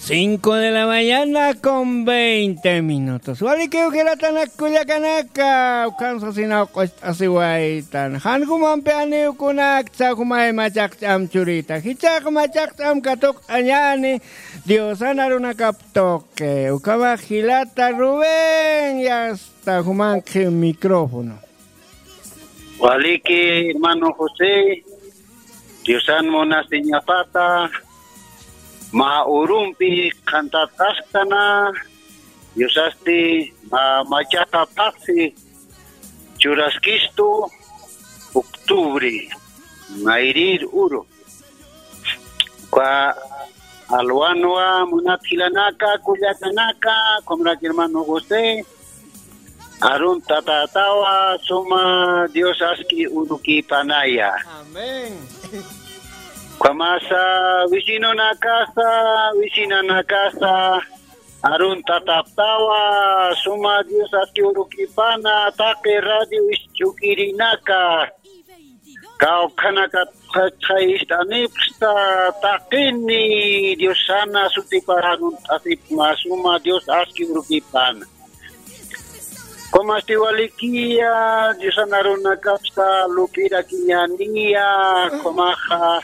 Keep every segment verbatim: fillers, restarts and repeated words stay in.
Cinco de la mañana con veinte minutos. Walikiw jilatanak kullakanaka, ukan sasinaw q'ust'asiwaytan. Jan jumampi aniwkunaksa jumay machaqch'am churita. Jichhax machaqch'am katuqt'añäni Diosan arunakap tuqi. Ukhamax jilata Rubén, ya está, jumankhi micrófono. Waliki, hermano José, Diosan munasiñapata, mä urumpi qhantat'askana, Diosasti mä machaqapasi churaskistu, octubre, mayrir uru. Uka alwanwa munat jilanaka, kullakanaka, ukhamarak hermano José, arunt'atätawa suma Dios aski urukipanaya. Amén. Ukhamasa vecinonakasa, vecinanakasa, arunt'atäptawa suma Dios aski urukipana, taqi radio isch'ukirinaka. Kawkhanakat qhach'ay ist'anipxta, taqini Diosana sutipax arunt'asipxma suma Dios aski urukipana. Ukhamastiw walikiya, Diosan arunakapsa lup'irakiñäniya, ukhamaxa,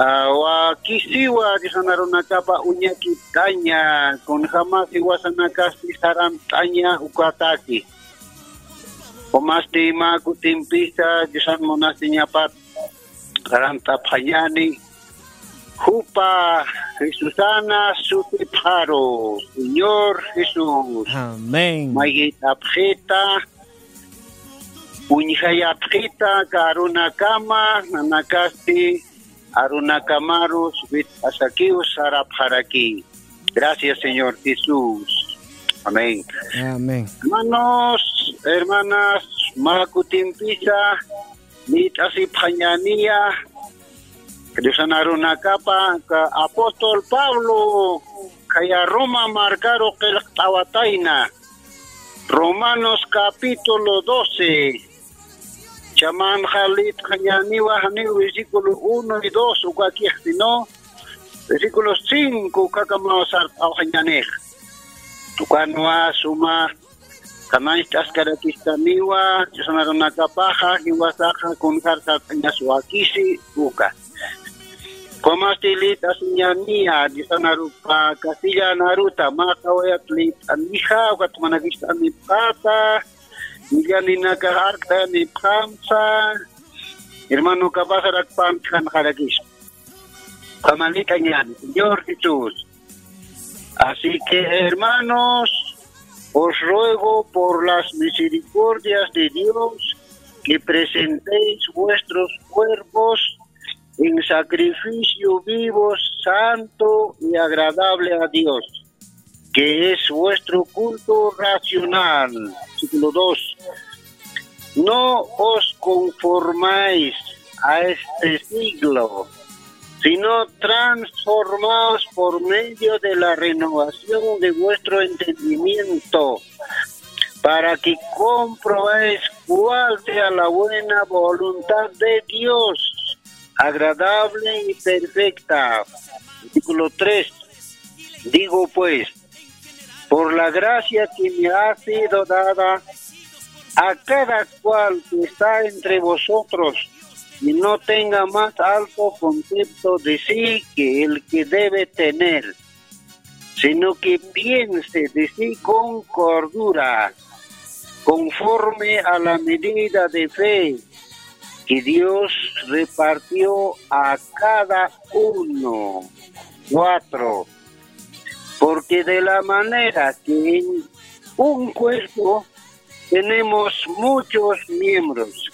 ah, wakisiwa Diosan arunakapa uñakipt'aña, kunjamas jiwasanakasti sarant'aña ukataki. Ukhamastiw mä kutimpisa Diosan munasiñapat sarant'apxañäni, jupa Jesusana sutipxaru, Señor Jesús. Amén. Mayjit'apxita, uñjayapxita, aka arunakama, nanakasti arunakamarus wit'asakiw sarapxaraki. Gracias, Señor Jesús. Amén. Amén. Hermanos, hermanas, mä kutimpisa lït'asipxañäniya, Diosan arunakapa, aka apóstol Pablo, khaya Roma markaru qillqt'awatayna. Romanos capítulo doce. Chhamanxa lït'xañäniwa, janiw versículo uno y dos ukakix, sino versículo cinco ukakamaw sart'awxañänix. Ukanwa suma qhanañcht'askarakistaniwa, Diosan arunakapaxa, jiwasaxa kunjar sart'añas wakisi uka. Ukhamasti lït'asiñäniya, Diosan arupa castellan aruta, mä qhawayat lït'anixa, ukat munakist'anipxata, millaninakax arkt'ayanipxamsa, hermanokapasarak pantxanxarakispa. Ukhaman lït'añäni, Señor Jesús. Así que, hermanos, os ruego por las misericordias de Dios que presentéis vuestros cuerpos en sacrificio vivo, santo y agradable a Dios, que es vuestro culto racional. Versículo dos. No os conformáis a este siglo, sino transformaos por medio de la renovación de vuestro entendimiento, para que comprobéis cuál sea la buena voluntad de Dios, agradable y perfecta. Versículo tres. Digo pues, por la gracia que me ha sido dada, a cada cual que está entre vosotros, y no tenga más alto concepto de sí que el que debe tener, sino que piense de sí con cordura, conforme a la medida de fe que Dios repartió a cada uno. Cuatro. Porque de la manera que en un cuerpo tenemos muchos miembros,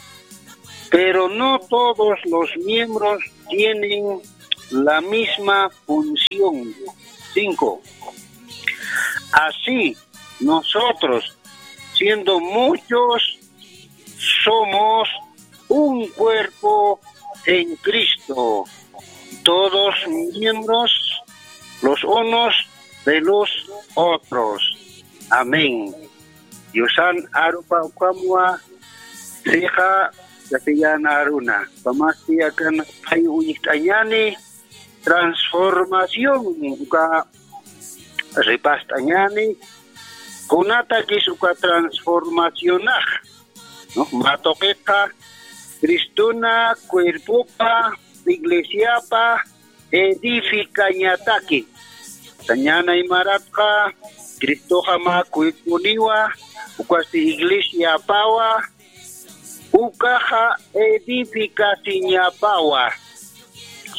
pero no todos los miembros tienen la misma función. Cinco. Así, nosotros, siendo muchos, somos un cuerpo en Cristo, todos miembros los unos de los otros. Amén. Diosan arupa ukhamwa sixa castellan aruna. Ukhamasti akan phay uñjt'añäni, transformación uka ripast'añani. Kunatakis uka transformacionax, ¿no? Matuqiqa Cristuna cuerpopa, iglesiapa edificañataki. Sañana imaratqa Cristoxa mä cuerponiwa, ukasti iglesiapawa, ukaxa edificasiñapawa.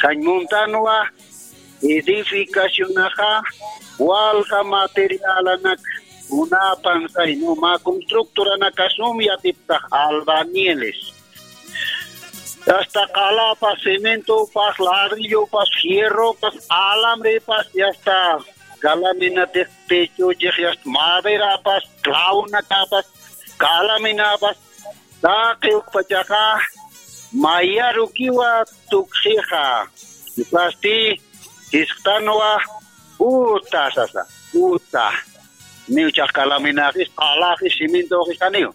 Sañmuntanwa edificacionaxa walja materialanak unapan saynu mä constructoranakasum yatiptax albañiles. Hasta qalapas, cementopas, ladrillopas, fierropas, alamrepas, y hasta calaminatix techochix, y hasta maderapas, claunakapas, calaminapas, taqi ukpachaqa mayarukiwa tukxixa. Ukasti jisqtanwa uta sasa, uta. Niw chax calaminaxis, qalaxis, cementoxis janiw.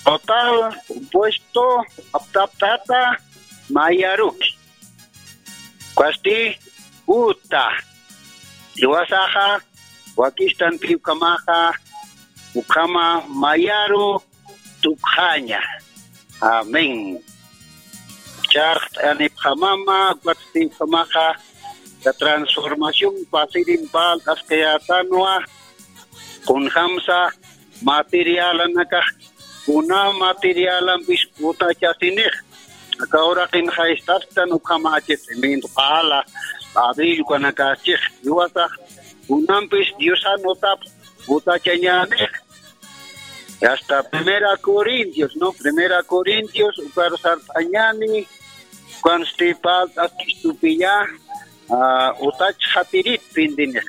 Total, compuesto, aptaptata, mayaruki. Ukasti uta. Jiwasaxa, wakistanti ukhamaxa, ukhama mayaru tukxaña. Amén. Charqt'anipxamama, ukatsti ukhamaxa, la transformación pasirin parlt'askayätanwa, kunjamsa materialanakax, kuna materialampis utachasinix. Aka uraqin jaystasktan ukhamächix, cemento, qala, ladrillo ukanakasachix, jiwasax kunampis Diosan utap utachañänix. Hasta Primera Corintios, ¿no? Primera Corintios, ukar sart'añäni, ukansti parlt'askistupiya, ah, utachxatirit pintinix.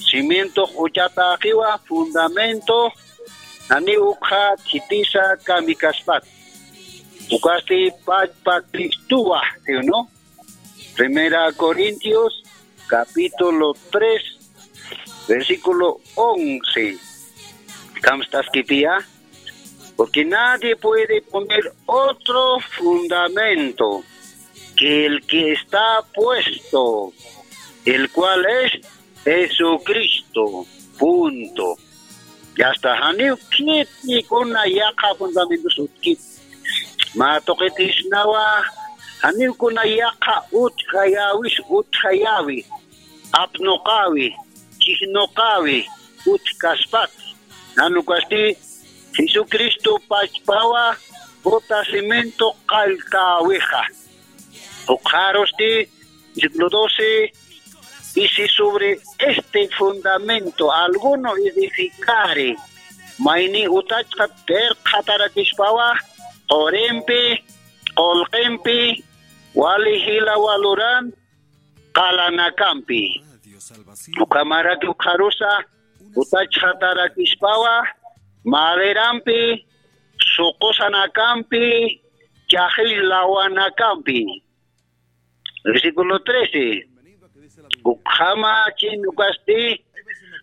Cimientox uchatäxiwa, fundamento, janiw ukxa khitisa kamikaspat. Ukasti pachpa Cristowa, ¿sí o no? Primera Corintios, capítulo tres, versículo once. Kamstaskipiya, porque nadie puede poner otro fundamento que el que está puesto, el cual es Jesucristo. Punto. Yasta, janiw khiti kuna yaqha fundamentos utkit. Mä tuqitisnawa, janiw kuna yaqha utjayäwis, utjayäwi, apnuqäwi, chijnuqäwi, utjkaspat. Jan ukasti Jesucristo pachpawa, uta cimiento qalltäwixa. Ukxarusti, versículo doce, y si sobre este fundamento alguno edificare, mayni utachxa qillqatarakispawa, qurimpi, qullqimpi, wali jila waluran, qalanakampi. Ukhamaraki ukxarusa, utachxatarakispawa, maderampi, suqusanakampi, chaxi lawanakampi. Versículo trece. Ukhamachin ukasti,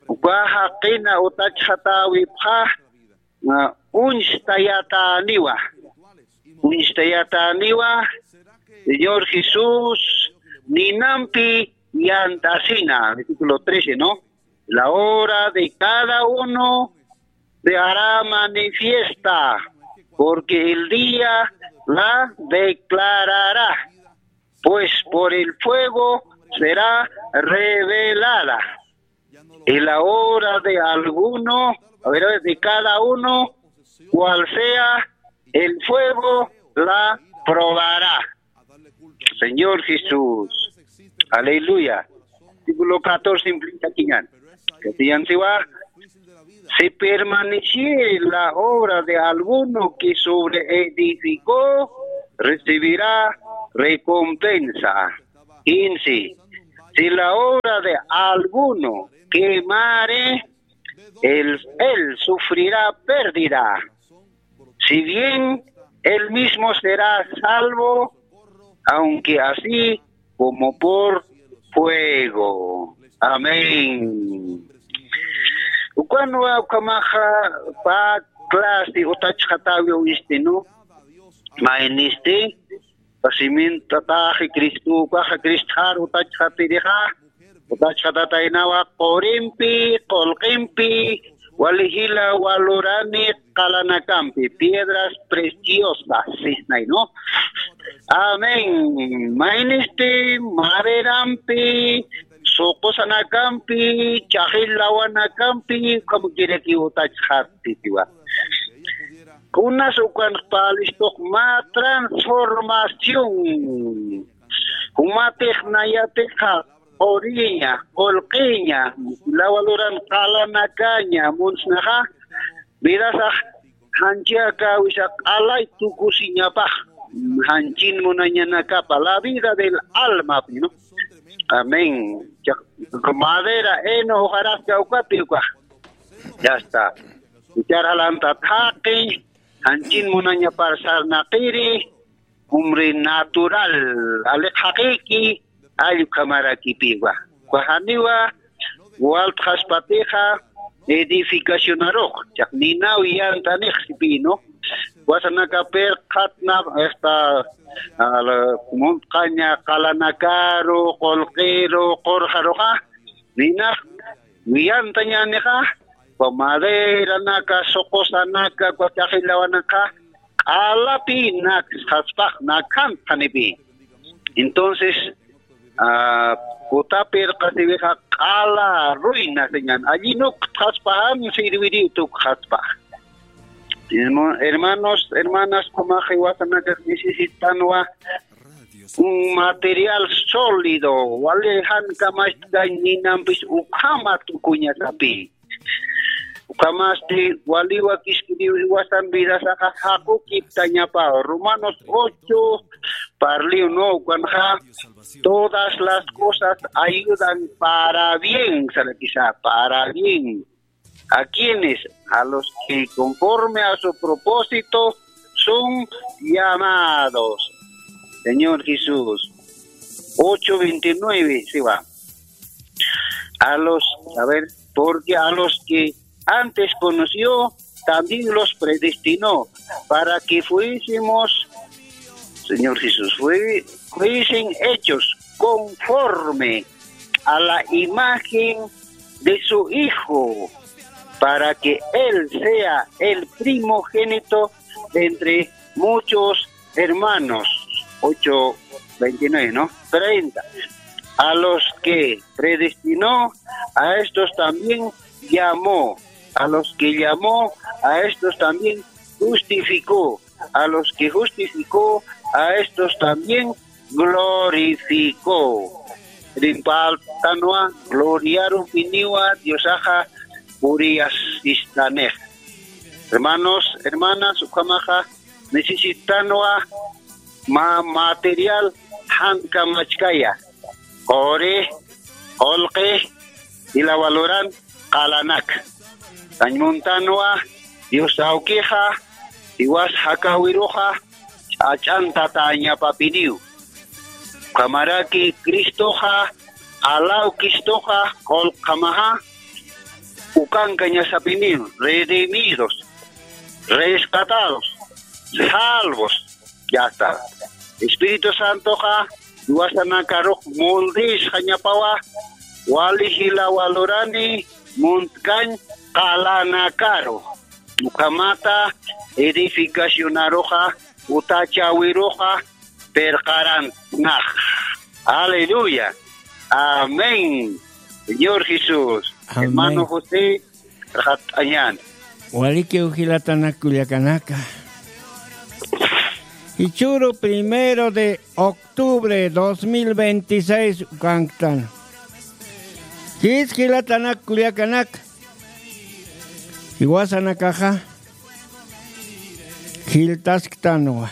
uka jaqina utachxatäwipxa, ah, uñstayatäniwa. Uñstayatäniwa, Señor Jesús ninampi yant'asina. Versículo trece, ¿no? La obra de cada uno se hará manifiesta, porque el día la declarará, pues por el fuego será revelada. Y la obra de alguno, a ver, de cada uno, cual sea, el fuego la probará. Señor Jesús. Aleluya. Versículo catorce implica que ya, que si ya se va, si permaneciere la obra de alguno que sobre edificó, recibirá recompensa. Quince. Si la obra de alguno quemare, él, él sufrirá pérdida, si bien él mismo será salvo, aunque así como por fuego. Amén. Ukanwa ukhamaxa pä clase utachxatäwi uñstinu, maynisti, Simintataxi Cristo, ukaxa Cristxar utachxatirixa, utachxatataynawa qurimpi, qullqimpi, wali jila walurani qalanakampi, piedras preciosas, sisnay, ¿no? Amén. Maynisti maderampi, suqusanakampi, chaqil lawanakampi, como quiere que utachxatitiwa. Kunas ukan palistuq mä transformación. Jumatix nayatixa quriña, qullqiña, lawaluran qalanakaña, munsnaxa, vidasax janchaka wisa q'alay tukusiñapax, janchin munañanakapa, la vida del alma, ¿no? Amén. Chaq-, madera, heno, hojarasca, ukapi, ukax. Ya está. Ichar jalanta thaqi, janchin munañapar sarnaqiri, hombre natural, aliq jaqiki, allpkhamarakipiwa. Uka janiwa, waltxaspatixa, edificacionarux, chaq ninaw yantanix sipino, wasanaka pirqatna, esta, al, muntqaña qalanakaru, qullqiru, qurqaruxa, ninax, wiyantañänixa, uka maderanaka, suqusanaka, uka chaqil lawanaka, q'alapi naksxaspax, nakhantxanipi. Entonces, ah, kutapirqasiwixa q'ala ruina señan, allinukxaspaxan sirviriw tukxaspax. Hermo-, hermanos, hermanas, ukhamax jiwasanakax necesitanwa un material sólido, wali jan kamasti ninampis ukhama tukuñasapi. Ukhamasti waliwa kiskiriw jiwasan vidasaxa jaqukiptañapa. Romanos ocho, parliw, ¿no? Ukanxa, todas las cosas ayudan para bien, sarakisa, para bien. ¿A quiénes? A los que conforme a su propósito son llamados. Señor Jesús. Ocho veintinueve, sí va. A los, a ver, porque a los que antes conoció, también los predestinó para que fuésemos, Señor Jesús, fue-, fuesen hechos conforme a la imagen de su Hijo, para que Él sea el primogénito entre muchos hermanos. Ocho veintinueve, ¿no? Treinta. A los que predestinó, a estos también llamó. A los que llamó, a estos también justificó. A los que justificó, a estos también glorificó. Rimpartanwa, gloriarupiniwa, Diosaxa puriyasistanix. Hermanos, hermanas, ukhamaxa necesitanwa mä material jan kamachkaya. Quri, qullqi, jila waluran qalanak. Sañ muntanwa, Dios awkixa, jiwas jakawiruxa, ch'ach'antatañapapiniw. Ukhamaraki Cristoxa, alaw Cristoxa, qullqamaxa, ukankañasapiniw, redimidos, rescatados, salvos, ya está. Espíritu Santoxa, jiwasanakarux moldesxañapawa, wali jila walurani, muntkañ qalanakaru. Ukhamata edificacionaruxa, utachawiruxa, pirqaranx. Aleluya. Amén. Señor Jesús. Amén. Hermano José, rxat'añan. Walikiw jilatanak kullakanaka. Jichhüru primero de octubre dos mil veintiséis ukanktan. Jis jilatanak kullakanaka. Jiwasanakaxa jiltasktanwa.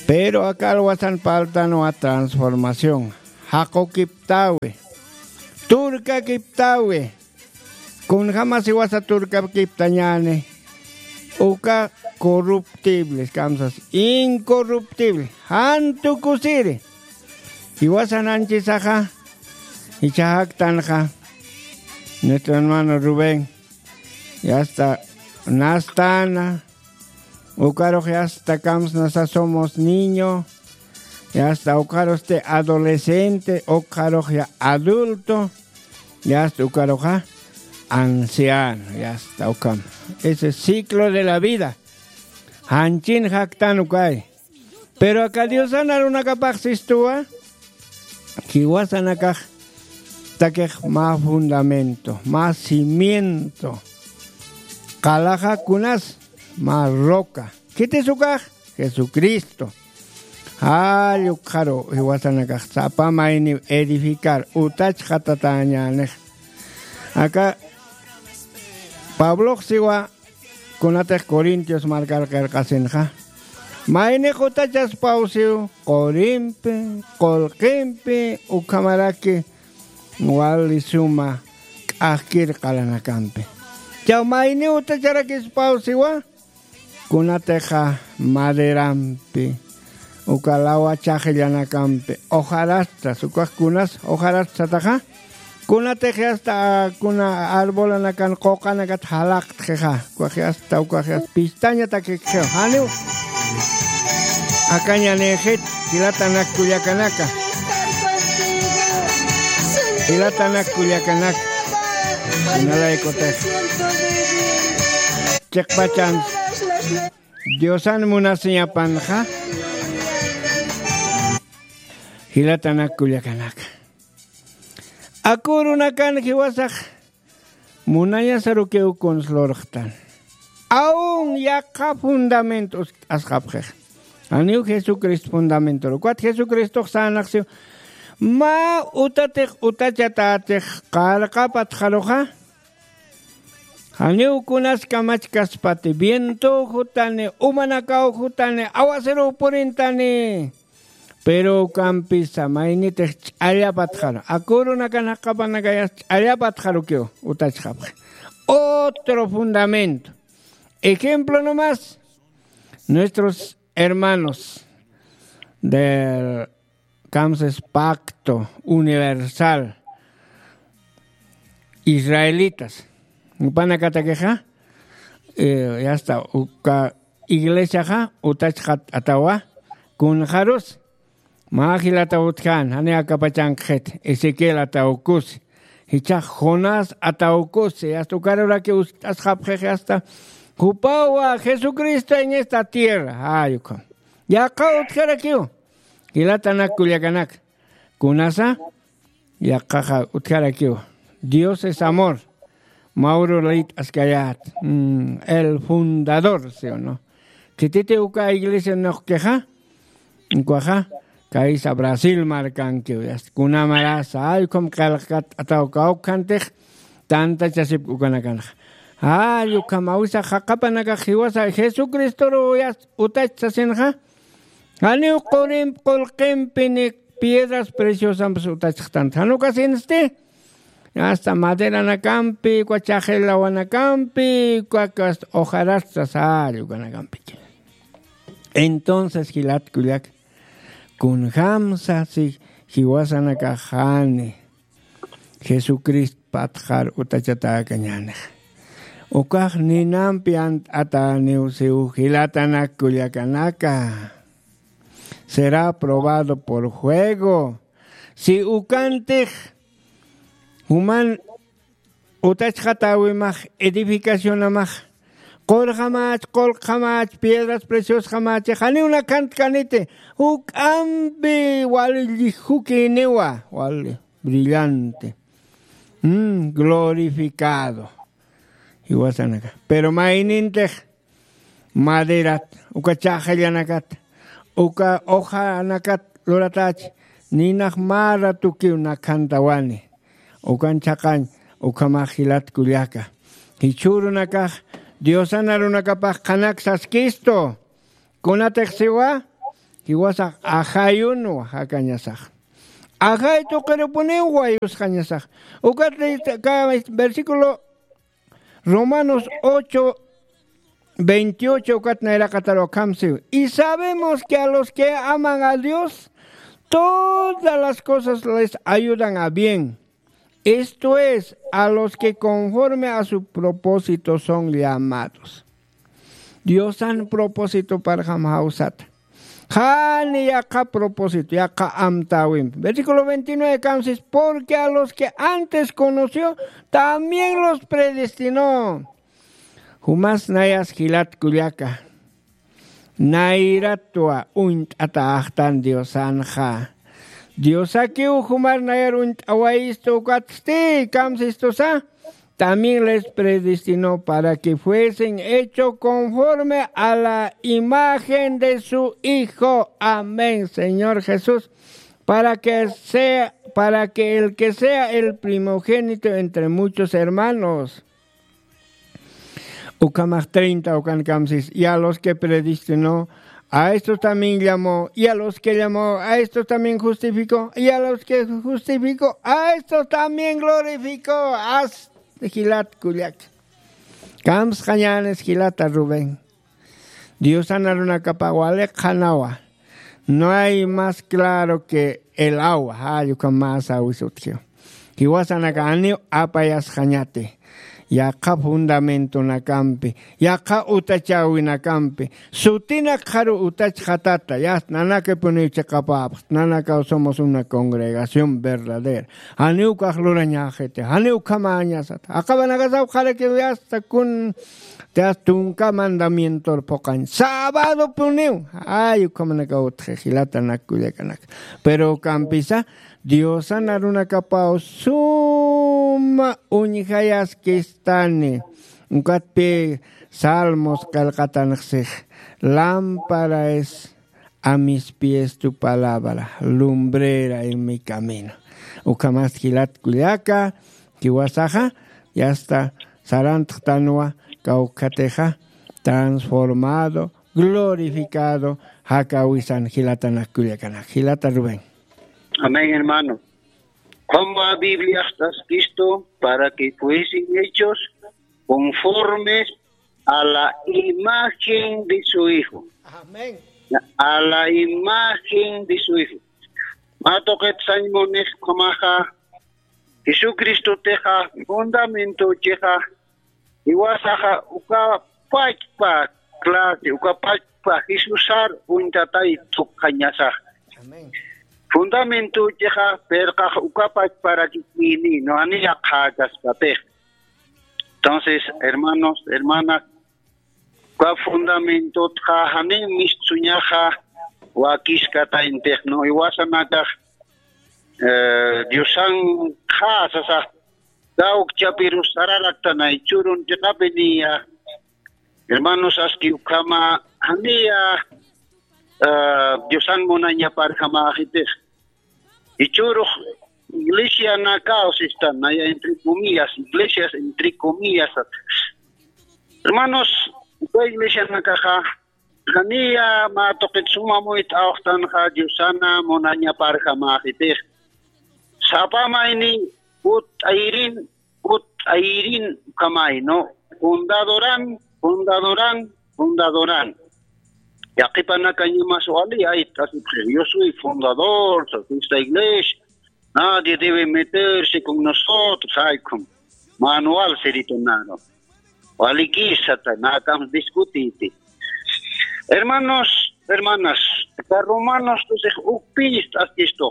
Pero aka alwasan parltanwa transformación. Jaqukiptawi. Turkakiptawi. Kunjamas jiwasa turkakiptañäni. Uka corruptible, kamsas, incorruptible. Jan tukusiri. Jiwasan anchisaxa. Jichhaxaktanxa. Nuestro hermano Rubén. Y hasta Nastana, Ukarux yasta kamsnasa somos niño, yasta ukarusti adolescente, ukarux ya adulto, yasta ukaruxa anciano, yasta ukam. Ese ciclo de la vida janchin jaktan ukay. Pero aka Diosan arunakapax sistuwa, jiwasanakax takix mä fundamento, mä cimiento. Qalaxa kunas mä roca. Khitis ukax? Jesucristo. Jall ukxaru jiwasanakax sapa mayniw edificar utachxatatäñänix. Aka Pablox siwa kunatix Corintios markar qillqasinxa, maynix utachaspaw siw, qurimpi, qullqimpi, ukhamaraki wali suma k'axkir qalanakampi. Chaw mayniw utacharakispaw siwa, kunatixa maderampi, uka lawa chaqillanakampi, hojarastas, ukax kunas hojarastsataxa, kunatix yasta, kuna arbolanakan quqanakat jalaqtxixa, ukax yasta, ukax yasta pistañatakikxiw, janiw. Akañanïxit, jilatanak kullakanaka. Jilatanak kullakanaka. Kunalaykutix chiqpachan Diosan munasiñapanxa, jilatanak kullakanaka. Aku urunakan jiwasax munañasarukiw kuns lurxtan. Aun yaqha fundamento uskt'asxapxix. Janiw Jesucristo fundamentor. Ukat Jesucristox sänxsiw. Mä utatix utachatätix qarqapatxaruxa. Janiw kunas kamachkaspati, vientow jutani, umanakaw jutani, awasaruw purintani. Pero ukampisa maynitix ch'allapatxaru. Aku urunakan jaqapanakayas ch'allapatxarukiw utachxapxi. Otro fundamento. Ejemplo nomás. Nuestros hermanos del Kamsas Pacto Universal, israelitas, jupanakatakixa, eh, yasta uka iglesiaxa utachxatatawa, kunxarus, mä jilataw utjän, jani akapachankxit, Ezequiel atawkus, jichhax Jonás atawkus, yasta ukaruraki uskt'asxapxix, yasta jupawa Jesucristo en esta tierra, jay ukham. Yaqha utjarakiw, jilatanak kullakanak. Kunasa, yaqhaxa utjarakiw. Dios es amor. Mauro Leit askayat. Mm, el fundador, ¿sí o no? Khititi uka iglesia nuqkixa, ukaxa, kaysa Brasil markankiw. Yasta kunamarasa, ay, ukham qillqat ataw kawkhantix, tantachasipki ukanakanxa. Ay, ukham awisa jaqapanakax jiwasa Jesucristoru yasta utach sasinxa, janiw qurimp qullqimpi ni piedras preciosampas utachxtanti. Jan ukasinsti, hasta maderanakampi, uka chaqi lawanakampi, uka hasta hojarastas, ay, ukanakampi. Entonces, jilat kullak, kunjamsa si jiwasanakax jani Jesucristo patxar utachatäkañänix. Ukax ninampi ant'atäniw siw jilatanak kullakanaka. Será probado por fuego. Si ukantix juman utachxatäwimax, edificacionamax, qurxamach, qullqxamach, piedras preciosxamach, janiw nakhantkaniti, juk'ampi wali llijukïniwa, wali brillante. Mm, glorificado. Jiwasanaka. Pero maynintix maderat, uka chaqillanakat, uka hojanakat luratächi, ninax mä ratukiw nakhantawani. Ukan chhaqañ, ukhamax jilat kullaka. Jichhürunakax Diosan arunakapax qhanak saskistu. Kunatix siwa, jiwasax ajayunwa jakañasax. Ajay tuqirupuniw wayusxañasax. Ukat ka versículo Romanos ocho, veintiocho, ukat nayraqatar ukham siw. Y sabemos que a los que aman a Dios, todas las cosas les ayudan a bien. Esto es, a los que conforme a su propósito son llamados. Diosan propósito parjam jawsata. Jani yaqha propósito, yaqha amtäwimpi. Versículo veintinueve kamsis, porque a los que antes conoció, también los predestinó. Jumas nayas jilat kullaka. Nayratwa uñt'ata axtan Diosanxa. Diosakiw jumar nayar uñt'awayistu ukatsti, kamsistusa. También les predestinó para que fuesen hecho conforme a la imagen de su Hijo. Amén, Señor Jesús. Para que sea, para que el que sea el primogénito entre muchos hermanos. Ukhamax treinta ukan kamsis, y a los que predestinó, a estos también llamó, y a los que llamó, a estos también justificó, y a los que justificó, a estos también glorificó. As jilat kullak. Kamsqañänis jilata Rubén. Diosan arunakapa wali qhanawa. No hay más claro que el agua. Jall ukham mä sawis utjiw. Jiwasanaka janiw apayasxañati. Yaqha fundamentonakampi, yaqha utachäwinakampi, sutinak qharu utachxatata, yast nanakipuniw chiqapäpxt, nanakaw somos una congregación verdadera. Janiw ukax lurañäxiti, janiw ukhamäñasat. Aqhapanakasaw qharakiw yasta kun, yast tunka mandamientor phuqañ. Sabadopuniw. Ay, ukhamanakaw utji, jilatanak kullakanak. Pero ukampisa, Diosan arunakapaw suma uñjayaskistani. Ukatpï Salmos qillqatanxsix, lámpara es a mis pies tu palabra, lumbrera en mi camino. Ukhamasti jilat kullaka, jiwasaxa, yasta sarantxtanwa, kawkhatixa, transformado, glorificado, jakäwisan jilatanak kullakanak. Jilata Rubén. Amén, hermano. Qhumwa Bibliax t'askistu para que fuesen hechos conformes a la imagen de su Hijo. Amén. A la imagen de su Hijo. Mä tuqit sañ munix ukhamaxa, Jesucristotixa, fundamentochixa, jiwasaxa uka pachpa clase, uka pachpa Jesusar uñtatay tukxañasax. Amén. Fundamentochixa, pirqax uka pachparakikini, no, jani yaqhäkaspatix. Entonces, hermanos, hermanas, uka fundamentotxa jani mistsuñaxa wakiskatayntix, no, jiwasanakax, eh, Diosan qha sasax, kawkchapirus sararaktanay, churun chiqapi niya, hermanos, aski ukhama, janiya, eh, Diosan munañaparjamäxitix. Jichhürux iglesianakaw sistan, naya entre comillas, iglesias entre comillas. Hermanos, uka iglesianakaxa, janiya mä tuqit suma muyt'awxtanxa Diosana munañaparjamäxitix. Sapa mayni utt'ayirin, utt'ayirin ukhamay, ¿no? Fundadoran, fundadoran, fundadoran. Yaqhipanakañamas wali ayt'asipxi, yo soy fundador de esta iglesia. Nadie debe meterse con nosotros, ay, como manual siritunaro. Walikisata, nakamsa discutiti. Hermanos, hermanas, acá Romanos doce, ukpis t'askistu.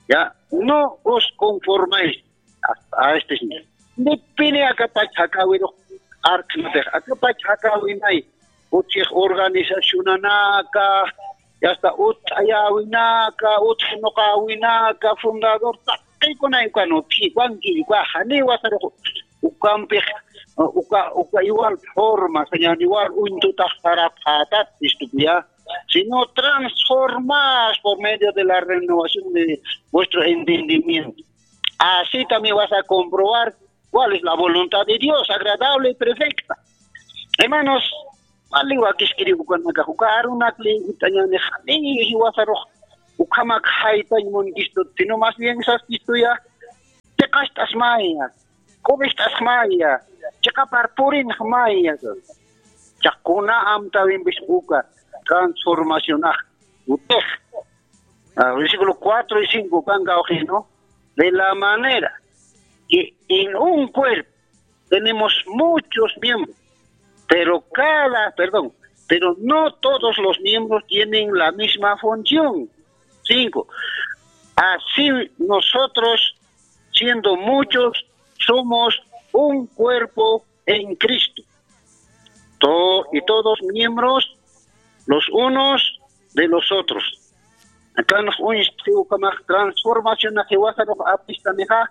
Ya, no os conforméis a, a este signo. Nipini akapach jakäwirux arknatix, akapach jakäwinay, utjix organizacionanaka, y hasta utt'ayäwinaka, utjnuqäwinaka, fundador, taqi kunay ukan utji, ukanki, ukaxa, niwasarux, ukampix, uka, uka igual forma, señor, igual uñtutax sarapxätat, istukuya, sino transformados por medio de la renovación de vuestro entendimiento. Así también vas a comprobar cuál es la voluntad de Dios, agradable y perfecta. Hermanos, wali wakiskiri ukanakax, uka arunak liyitañanix, ni jiwasarux, ukhamak jaytañ munkistu, sino más bien saskistuya, chiqast'asmaya, q'ubist'asmaya, chiqapar purinxmaya. Chaquna amtäwimpis uka transformacionax, utix. Ah, versículo cuatro y cinco, kan kawkï, ¿no? De la manera que en un cuerpo tenemos muchos miembros, pero cada, perdón, pero no todos los miembros tienen la misma función. Cinco, así nosotros, siendo muchos, somos un cuerpo en Cristo. To- y todos miembros los unos de los otros. Akan uñis transformación a jiwasa apistanixa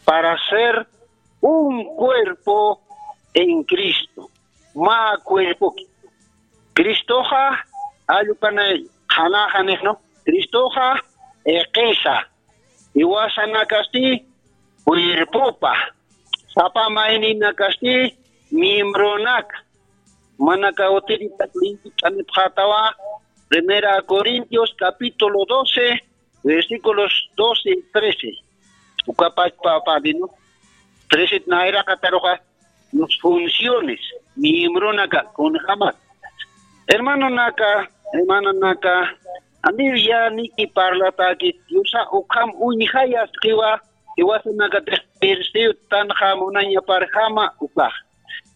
para ser un cuerpo en Cristo. Mä cuerpoki. Cristoxa, allupanay, qhanaxanix, ¿no? Cristoxa, iqisa. Jiwasanakasti, cuerpopa. Sapa mayninakasti, miembronaka. Manaka utiritak linkit'anipxatawa, Primera Corintios capítulo doce, versículos doce y trece. Ukapachpa apalino. Trece naira kataroxa, nos funciones, miembronaka, kunjama. Hermanonaka, hermanonaka, anil ya niki parlatakit, yusa ukham uñjayas kiwa, iwasanaka tixpirsiw tanxa munaña parjama ukax.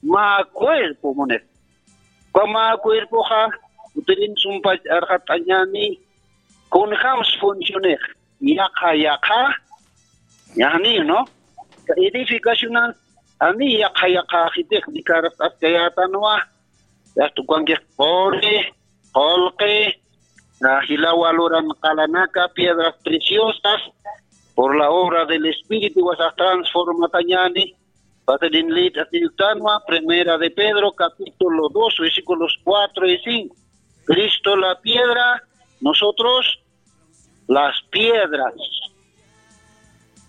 Mä cuerpo munir. Uka mä cuerpoxa, utirin sumpach arxat'añani, kunjams funcionix, yaqha, yaqha, yaqni, ¿no? Edificacionan, ani yaqha, yaqha, jitix, ni karas askayätanwa, yaqtukankix quri, qulqi, ah, jila valoran qalanaka, piedras preciosas, por la obra del Espíritu, wasax transformatañani, Pasadin lit asiyuktanwa, Primera de Pedro, capítulo dos, versículos cuatro y cinco. Cristo la piedra, nosotros las piedras.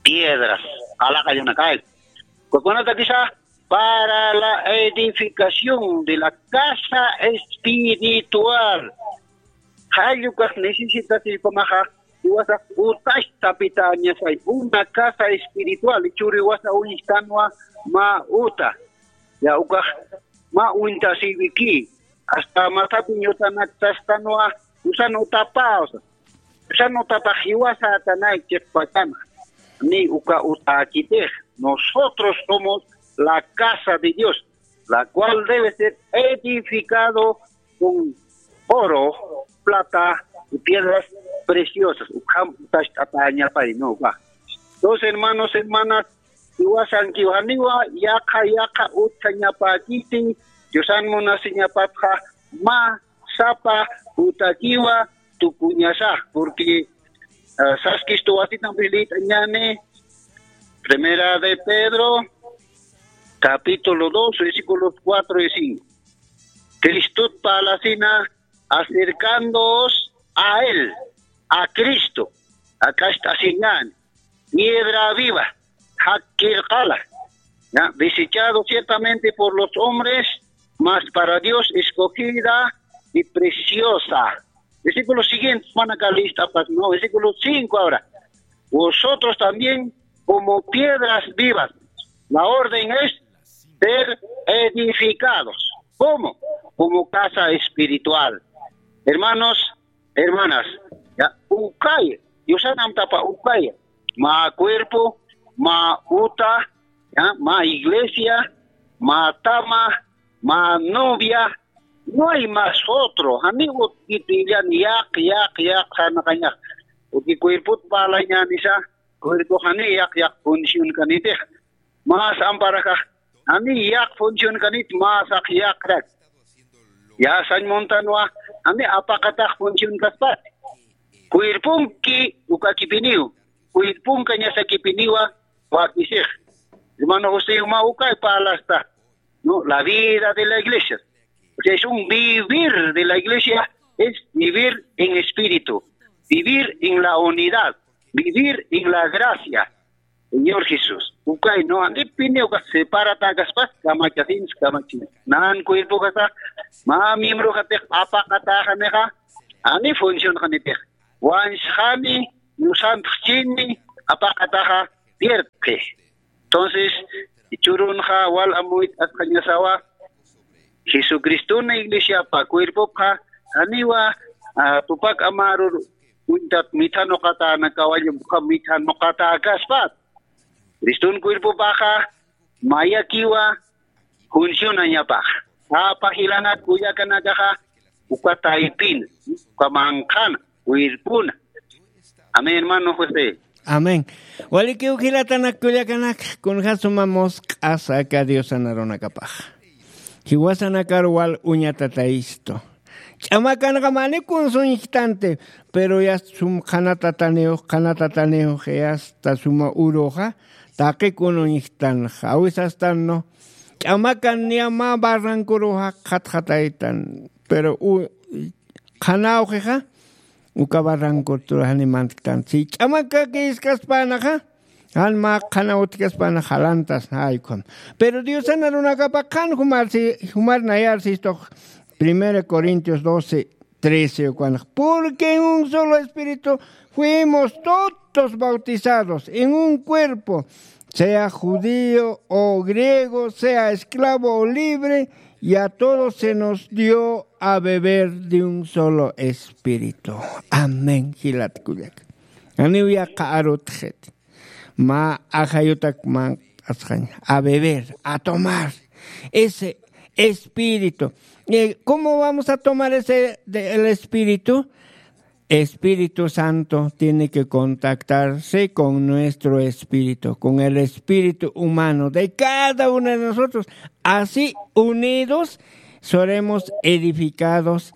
Piedras. Alaqa yunakay. Kukunata kisa, para la edificación de la casa espiritual. Jallukax necesitasipamaxa, iwasax utachtapitañasay, una casa espiritual, churiwasa uñstanwa, mä uta, ya ukax, mä uñtasiwiki, hasta masapiñ utanaktastanwa, usan utapa, usa, usan utapax jiwasa atanay chiqpachana, ni uka utakitix, nosotros somos la casa de Dios, la cual debe ser edificado con oro, plata y piedras preciosas. Ukham utacht'atäñapay, ¿no? Va. Entonces, hermanos, hermanas, iwasankiw janiwa, yaqha, yaqha utjañapäkiti, Diosan munasiñapatxa, mä sapa utakiwa tukuñasa, porque, ah, saskistu wasitan bilitañani, Primera de Pedro, capítulo dos, versículos cuatro y cinco. Cristot parlasina, acercándoos a él, a Cristo, a Cristo asinan, piedra viva, jakkir qala, ¿ya? Desechado ciertamente por los hombres, mas para Dios escogida y preciosa. Versículo siguiente, mana kalista, pues, no, versículo cinco ahora. Vosotros también como piedras vivas. La orden es ser edificados. ¿Cómo? Como casa espiritual. Hermanos, hermanas, ya, ukaya, Diosan amtapa ukaya, mä cuerpo, mä uta, ya, mä iglesia, mä tama, mä novia, no hay más otro. Jani utjkiti illan yaq, yaq, yaq, janaqañax. Porque cuerpot parlañänisa, cuerpo jani yaq, yaq función kanitix. Mas amparaxa, jani yaq función kanit, mas aq yaqrak. Ya sañ muntanwa, jani apaqatax función kaspat. Cuerponki ukakipiniw, cuerponkañasakipiniwa, wakisix. Hermano José, ma ukay parlasta, ¿no? La vida de la iglesia. O sea, es un vivir de la iglesia, es vivir en espíritu, vivir en la unidad, vivir en la gracia. Señor Jesús, ukay, ¿no? Andipini uka separata kaspas, kamachasins, kamachin. Nan cuerpo kasa, ma miembro katix apaqataxa nixa, ani función kanitix. Wansxani, nusantxchini, apaqataxa, pierde. Entonces, churunxa wal amuyt asqañasawa, Jesucristuna iglesiapa cuerpopxa, janiwa, ah, tupak amarur uñtat mithanuqatäna kawallum, uka mithanuqatäkaspat. Cristun cuerpopaxa, mayakiwa, funcionañapax. Sapa jilanak kullakanakaxa uka taypina, uka manqhana, wirpuna. Amén, hermano José. Amén. Walikiw jilatanak kullakanak, kunja suma musq'asa aka Diosan arunakapax. Jiwasanakar wal uñatatayistu. Ch'amakanxa mani kunsuñjtanti, pero ya sum qhanatataniw, qhanatataniw, ya está suma uruxa, taqi kunuñjtanxa, awisastan, ¿no? Ch'amakan niya mä barrancoruxa qhatxataytan, pero u-, qhanawxixa, uka barrancotur jani mantktan. Si ch'amakakïskaspänaxa, jan mä qhanaw utjkaspana jalantas, ay, ukham. Pero Diosan arunakapa qhan jumar si, jumar nayar sistux, Primera Corintios doce, trece, ukanx. Porque en un solo espíritu fuimos todos bautizados, en un cuerpo, sea judío o griego, sea esclavo o libre, y a todos se nos dio a beber de un solo espíritu. Amén, jilat kullak. Janiw yaqha arutxit. Mä ajayutak manq'asxañ. A beber, a tomar. Ese espíritu. Eh, ¿cómo vamos a tomar ese, de, el espíritu? Espíritu Santo tiene que contactarse con nuestro espíritu, con el espíritu humano de cada uno de nosotros. Así, unidos, seremos edificados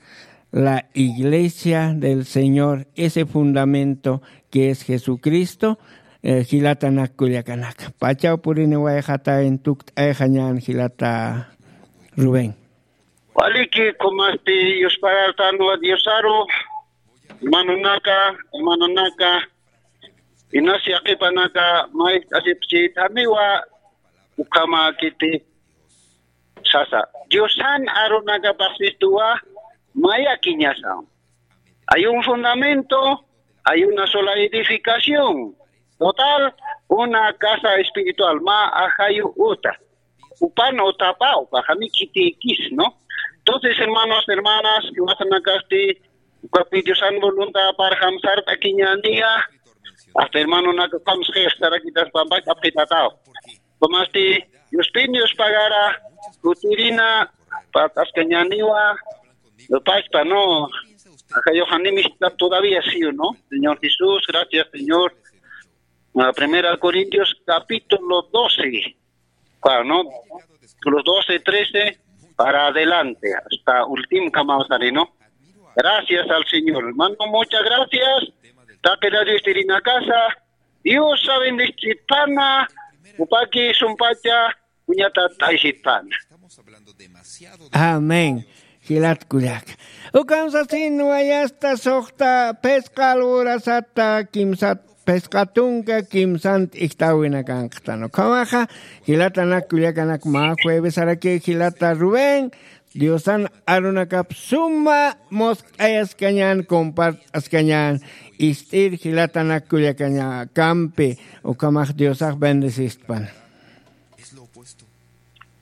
la iglesia del Señor, ese fundamento que es Jesucristo, eh, jilatanak kullakanak. Pachaw purini wayxata en tukt'ayxañan jilata Rubén. Waliki, kumasti yuspagartanwa Diosaru, hermanonaka, hermanonaka, inas yaqipanaka, maist'asipchitaniwa, ukhamakiti, sasa. Diosan arunakapaxsistuwa, mayakiñasa. Hay un fundamento, hay una sola edificación. Total, una casa espiritual, mä ajayu uta. Upan utapa, upa jani khitikis, ¿no? Entonces, hermanos, hermanas, que vas a nacasti, ukapi Diosan voluntad para jamsar takiñaniya, hasta hermano naka kamsqis tarakitas pampak apitataw. Pamasti, Dios pin Dios pagara, kutirina, patas kañaniwa, lo pasta, ¿no? Acá yo animista todavía, ¿sí o no? Señor Jesús, gracias, Señor. Ah, Primera Corintios capítulo doce, claro, ¿no? Los doce, trece, para adelante, hasta último, ¿no? Gracias al Señor, hermano, muchas gracias. Taqi radio Estirina Casa, Dios sabe, bendecipana, upaki sumpacha, uñata taisipana. Amén. Jilat kullak. Ukan sasin wayasta suxta phisqa alwurasata kimsat phisqa tunka kimsant ijtawinakanqtan. Ukhamaxa jilatanak kullakanak mä juevesaraki jilata Rubén, Diosan arunakap suma musq'ayaskañan, compart'askañan, ist'ir jilatanak kullakañakampi, ukhamax Diosax bendecistpan. Es lo opuesto.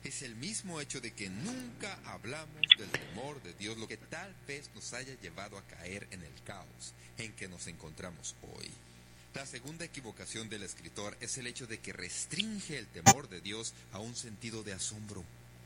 Es el mismo hecho de que nunca hablamos del temor de Dios, lo que tal vez nos haya llevado a caer en el caos en que nos encontramos hoy. La segunda equivocación del escritor es el hecho de que restringe el temor de Dios a un sentido de asombro.